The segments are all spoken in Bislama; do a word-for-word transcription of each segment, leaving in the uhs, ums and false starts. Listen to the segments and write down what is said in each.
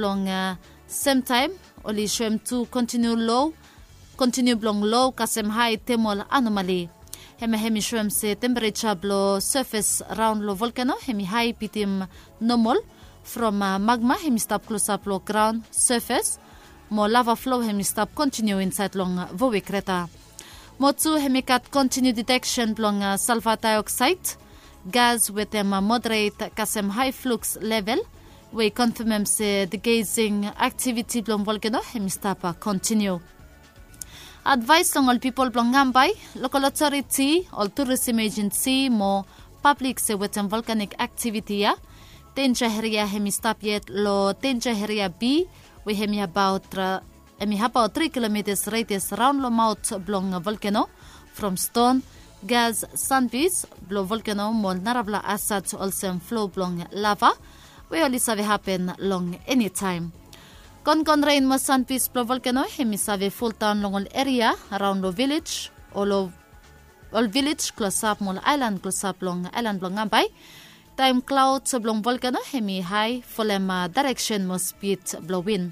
Long semtaem oli soem tu kontiniu lo kontiniu blong lo kasem hae temol anomali. Hemia hem i soem se tempereja blong sefes raon long volkeno hem i hae bitim nomol, from magma hem i stap klosap long graon sefes, mo lava flo hem i stap kontiniu insaed long voe kreta. Mo tu hem i gat kontiniu diteksen blong salva daeoksaed gas wetem moderet kasem hae fluks level, we i konfemem se digesing aktiviti blong volkeno hem i stap kontiniu. Advaes long ol pipol blong ambae, lokol otoriti, ol turism ejensi mo pablik se wetem volkanik aktiviti ya, denja eria hem i stap yet long denja eria bi, we hem i abaot tri kilomitas redias raon long maot blong volkeno, from ston, gas, sanbis blong volkeno mo narafala asat olsem flo blong lava, we oli save hapen long enitaem. Kongon ren mo sanbis blong volkeno hem i save foldaon long ol eria raon long vilej, o long ol vilej klosap mo ol aelan klosap long aelan blong ambae. Taem klaod blong volkeno hem i hae folem daereksen mo spid blong win.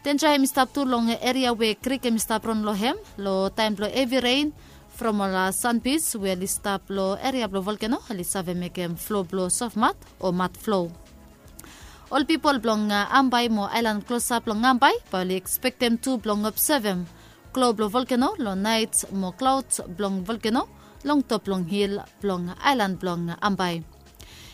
Denja hem i stap tu long eria we krik hem i stap ron long hem, long taem blong hevi ren, from ol sanbis we oli stap long eria blong volkeno oli save mekem flo blong sofmat o mat flo. Ol pipol blong ambae mo aelan klosap long ambae bae oli ekspektem tu blong obsevem klo blong volkeno long naet mo klaod blong volkeno long top blong hil blong aelan blong ambae.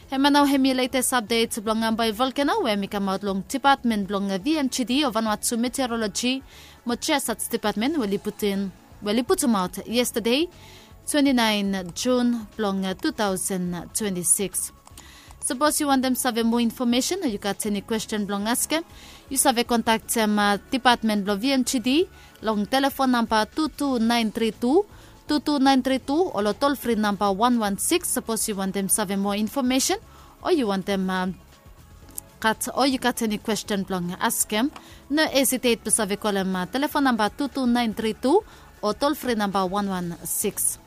Hemia nao hem i letes apdet blong ambae volkeno we hem i kamaot long depatmen blong vmgd o vanua tu meteoroloji mo jiasats depatmen we oli putum we oli putumaot yestade, twenti naen jun blong tu taosen twenti sikis. Sapos yu wantem save moa infomesen o yu gat eni kwesten blong askem, yu save kontaktem depatmen blong vmgd long telefon namba tu tu naen tri tu, tu tu naen tri tu o long tolfri namba wan wan sikis sapos yu wantem save moa infomesen o yu wantem gat o yu gat eni kwesten blong askem. No hesitet blong save kolem telefon namba tu tu naen tri tu o tolfri namba wan wan sikis.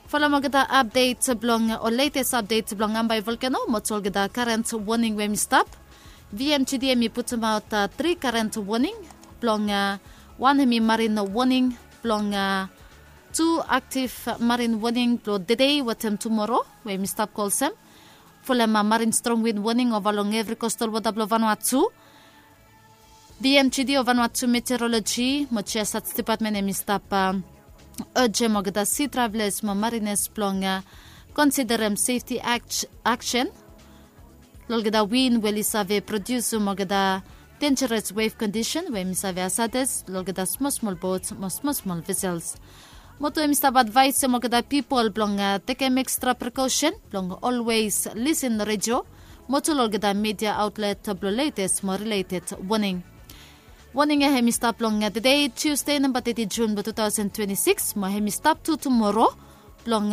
Folem olgeta apdet blong o letes apdet blong ambae volkeno mo tu olgeta karent woning we hem i stap. Vmgd hem i putumaot tri karent woning blong wan hem i marin woning blong tu aktiv marin woning blong dede wetem tumoro we hem i stap go olsem. Folem marin strong win woning ova long evri kostal wota blong vanua tu. Vmgd o vanua tu meteoroloji mo jiasats depatmen hem i stap ojem olgeta si traveles mo marines blong konsiderem sefti aksen long olgeta win we oli save prodiusum olgeta denjeres wef kondisen we hem i save asades long olgeta smolsmol bot mo smolsmol vesels. Mo tu hem i stap advaesem olgeta pipol blong tekem ekstra prekosen blong olwes lisin redio mo tu long olgeta media aotlet blong letes mo rileted woning. Woning ya hem i stap long tede, tiusde namba teti jun blong tu taosen twenti sikis mo hem i stap tu tumoro long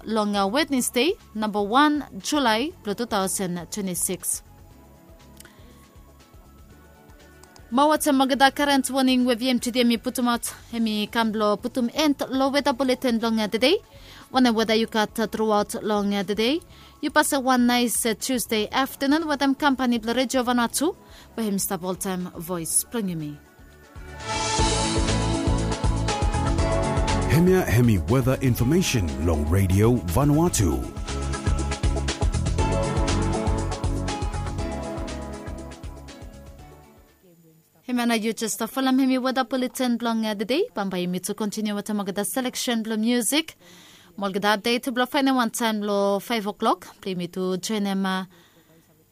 long wednesde namba wan julae blong tu taosen twenti sikis. Mo wetem olgeta karent woning we vmgd hem i putumaot hem i kam blong putum en long weta buleten blong tede. Wanem weta yu gat truaot long tede, yu pasem wan naes tiusde aftanun wetem kampani blong redio vanua tu we hem i stap oltaem voes blong yumi. Hemia hem i weta infomesen long redio vanua tu. Hemia nao yu jes stap folem hem i weta buleten blong tede. Bambae yumi tu kontiniu wetem olgeta seleksen blong musik mo olgeta apdet blong faenem wantaem long faef oklok blong yumi tu joenem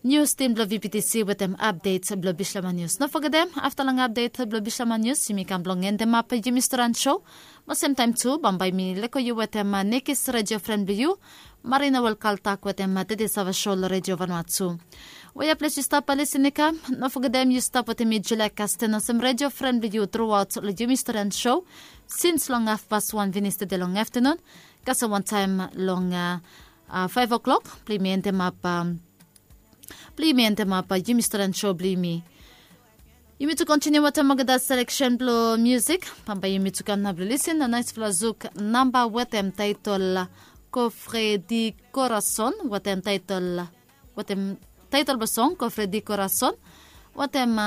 nius tim blong vptc wetem apdet blong bislama nius. No fogetem afta long apdet blong bislama nius yumi kam blong endemap yumi storan so. Mo semtaem tu bambae mi leko yu wetem nekis redio fren blong yu, marina welkaltak wetem tede sava so long redio vanua tu. Wea ples yu stap alisi nikam, no fogetem yu stap wetem mi julia kasten olsem redio fren blong yu truaot long yumi storan so, sins long hafpas wan finis tede long aftanun kasem wantaem long faef oklok blong yumi endemap blong yumi endemap yumi storan so blong yumi. Yumi tu kontiniu wetem olgeta seleksen blong musik. Bambae yumi tu kam nao blong lisin long naesfala zuk namba wetem taetol kofre di korason wetem taetol wetem taetol blong song kofre di korason. Watem